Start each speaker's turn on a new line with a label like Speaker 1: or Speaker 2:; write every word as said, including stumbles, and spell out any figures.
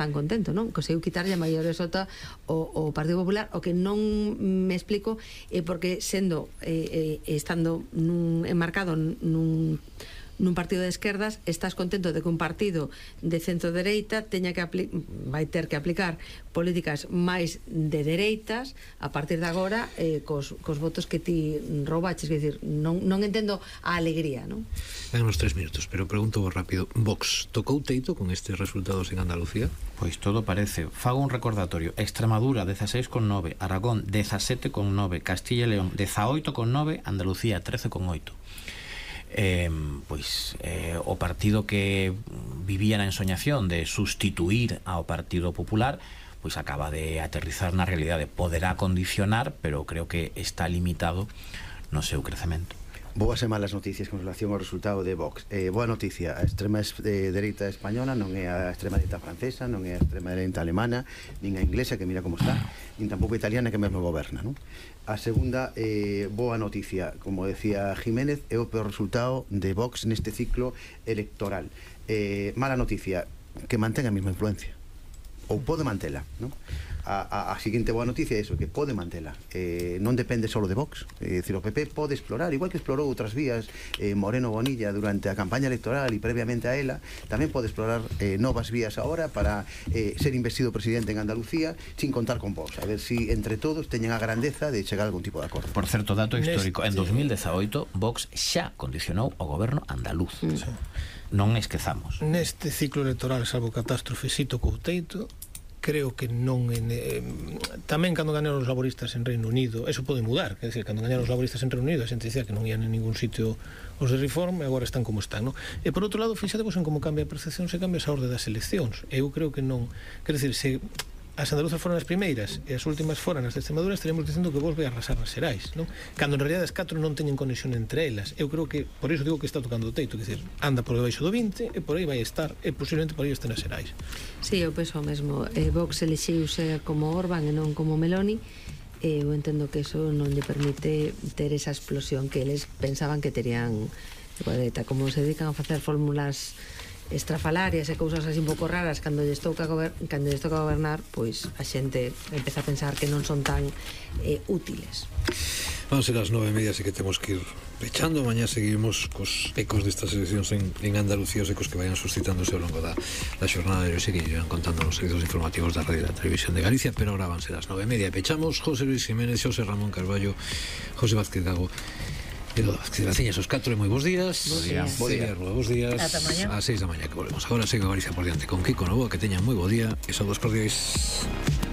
Speaker 1: tan contento, non? Conseguiu quitarlle a maioría sota o, o Partido Popular. O que non me explico é porque sendo eh, eh, estando nun, enmarcado nun nun partido de esquerdas, estás contento de que un partido de centro-dereita teña que vai ter que aplicar políticas máis de dereitas a partir de agora eh, cos, cos votos que ti roubaches. Quer dizer, non, non entendo a alegría, non?
Speaker 2: Dan uns tres minutos, pero pregunto rápido. Vox, tocou teito con estes resultados en Andalucía?
Speaker 3: Pois todo parece. Fago un recordatorio. Extremadura dezaseis coma nove, Aragón dezasete coma nove, Castilla e León dezaoito coma nove, Andalucía trece coma oito. Eh, pois eh, o partido que vivía na ensoñación de sustituir ao Partido Popular pois acaba de aterrizar na realidade. Poderá condicionar, pero creo que está limitado no seu crecemento.
Speaker 4: Boas e malas noticias con relación ao resultado de Vox. eh, Boa noticia, a extrema eh, dereita española non é a extrema dereita francesa, non é a extrema dereita alemana, nin a inglesa, que mira como está, nin tampouco a italiana, que mesmo goberna, non? A segunda eh, boa noticia, como decía Jiménez, é o peor resultado de Vox neste ciclo electoral. eh, Mala noticia, que mantén a mesma influencia, ou pode mantela, non? A, a, a seguinte boa noticia é iso, que pode mantela, eh, non depende só de Vox. É dicir, o P P pode explorar, igual que explorou outras vías eh, Moreno Bonilla durante a campaña electoral e previamente a ela, tamén pode explorar eh, novas vías agora para eh, ser investido presidente en Andalucía sin contar con Vox, a ver si entre todos teñen a grandeza de chegar a algún tipo de acordo.
Speaker 3: Por certo, dato histórico, en dos mil dezaoito Vox xa condicionou o goberno andaluz. Sí. Non esquezamos.
Speaker 5: Neste ciclo electoral, salvo catástrofe, si tocou teito. Creo que non en, eh, tamén cando gañaron os laboristas en Reino Unido, eso pode mudar, quer dizer, cando gañaron os laboristas en Reino Unido a xente dicía que non ian en ningún sitio os de Reform, e agora están como están, non? E por outro lado, fixadevos en como cambia a percepción se cambia esa orde das eleccións. Eu creo que non, quer dizer, se as andaluzas foran as primeiras e as últimas foran as de Extremadura, estaríamos dicendo que vos vai arrasar nas Xerais, non? Cando en realidad as catro non teñen conexión entre elas. Eu creo que, por iso digo que está tocando o teito, quer dizer, anda por debaixo do vinte e por aí vai estar, e posiblemente por aí este nas Xerais.
Speaker 1: Si, sí, eu penso o mesmo. eh, Vox elixiuse como Orbán e non como Meloni. e eu entendo que eso non lle permite ter esa explosión que eles pensaban que terían. Como se dedican a facer fórmulas estrafalarias e cousas así un pouco raras cando lles toca cando lles toca gobernar, pois a xente empeza a pensar que non son tan eh, útiles.
Speaker 2: Van ser as nove e media, así que temos que ir pechando. Mañá seguimos cos ecos destas eleccións en, en Andalucía, os ecos que vayan suscitándose ao longo da, da xornada de hoxe, que irán contando nos servizos informativos da Radio e da Televisión de Galicia, pero ahora van ser as nove e media. Pechamos José Luis Jiménez, José Ramón Carballo, José Vázquez Gago e do Vázquez Graciñas, os catro, e moi bons días.
Speaker 1: Bos días.
Speaker 2: Bos días, bos días.
Speaker 1: Ata mañá.
Speaker 2: Ás seis da mañá que volvemos. Agora segue Galicia por diante con Kiko Novoa, que teñan moi bo día e saúdos cordiais.